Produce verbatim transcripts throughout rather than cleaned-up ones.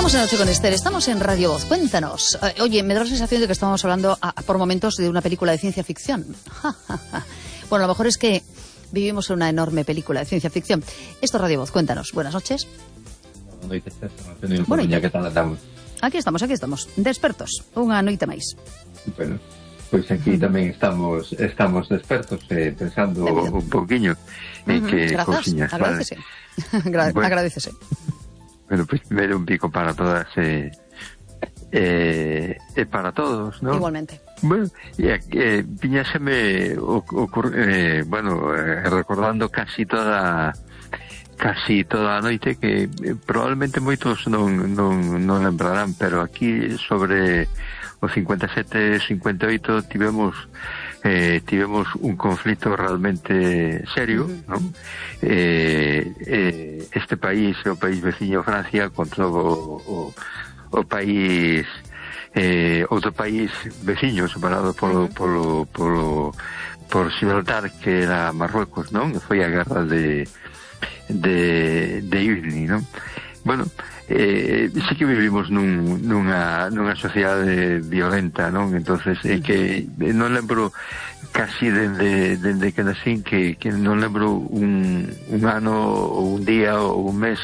Estamos en Noche con Esther, estamos en Radio Voz. Cuéntanos. Eh, oye, me da la sensación de que estamos hablando a, a, por momentos de una película de ciencia ficción. Bueno, a lo mejor es que vivimos en una enorme película de ciencia ficción. Esto es Radio Voz, cuéntanos. Buenas noches. Bueno, ya que tal andamos. Aquí estamos, aquí estamos. Despertos. Unha noite máis. Bueno, pois pues aquí uh-huh. tamén estamos estamos despertos, eh, pensando un poquinho en uh-huh. que cousiñas. Agradecese. Vale. Bueno, agradecese. Bueno, pois pues, primero un pico para todas e eh, eh, para todos, ¿no? Igualmente. Bueno, e eh, piñáseme ocurre, eh, bueno, eh, recordando casi toda casi toda a noite que eh, probablemente moitos non, non, non lembrarán, pero aquí sobre o cincuenta e sete cincuenta e oito tivemos eh, tivemos un conflito realmente serio, uh-huh. ¿no? Eh, eh, este país, o país veciño Francia, contra o, o, o país eh, outro país veciño separado polo, uh-huh. polo, polo, por Gibraltar, que era Marruecos, non? Foi a guerra de de de Irni, non? Bueno, eh, sí que vivimos nun, nunha, nunha sociedade violenta, non? Entonces, é eh, que non lembro casi dende, dende que nacín que, que non lembro un, un ano ou un día ou un mes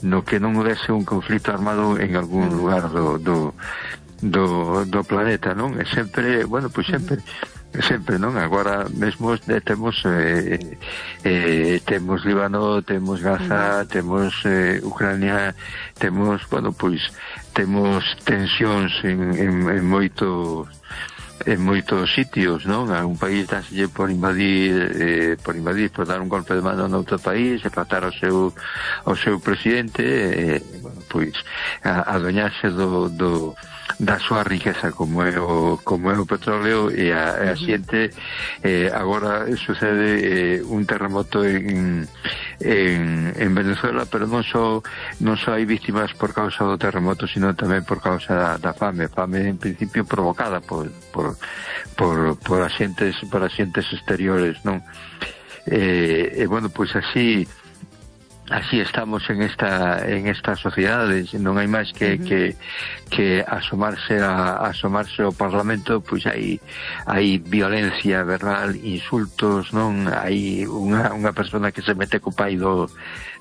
no que non houvese un conflito armado en algún lugar do, do, do, do planeta, non? E sempre, bueno, pois sempre sempre, non? Agora mesmo eh, temos eh, eh, temos Líbano, temos Gaza, temos eh, Ucrania, temos, bueno, pois temos tensións en, en, en moitos en moitos sitios, non? A un país dáselle por invadir eh, por invadir, por dar un golpe de mano noutro país e matar ao seu ao seu presidente, eh, bueno, pois a, adueñarse do, do da súa riqueza como é o, como é o petróleo e a, e a xente eh, agora sucede eh, un terremoto en, en, en Venezuela, pero non só non só hai víctimas por causa do terremoto, sino tamén por causa da, da fame fame en principio provocada por por, por, por axentes por axentes exteriores, non? E eh, eh, bueno, pois así así estamos en esta en esta sociedade, non hai máis que uh-huh. que que asomarse a asomarse ao Parlamento, pois hai hai violencia verbal, insultos, non? Hai unha unha persona que se mete co pai do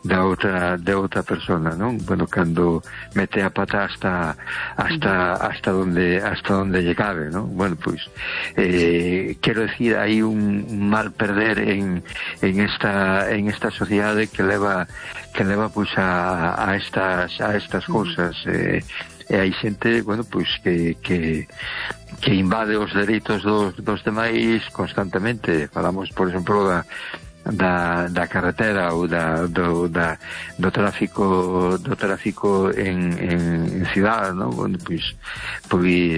da outra de outra persona, non? Bueno, cando mete a pata hasta hasta hasta donde hasta donde lle cabe, non? Bueno, pois eh quero decir, hai un mal perder en en esta en esta sociedade que leva que leva pois a a estas a estas cousas, eh e hai xente, bueno, pois que que que invade os dereitos dos dos demais constantemente. Falamos, por exemplo, da da, da carretera ou da, do, da, do tráfico do tráfico en, en, en cidade, non? Bueno, pois, pois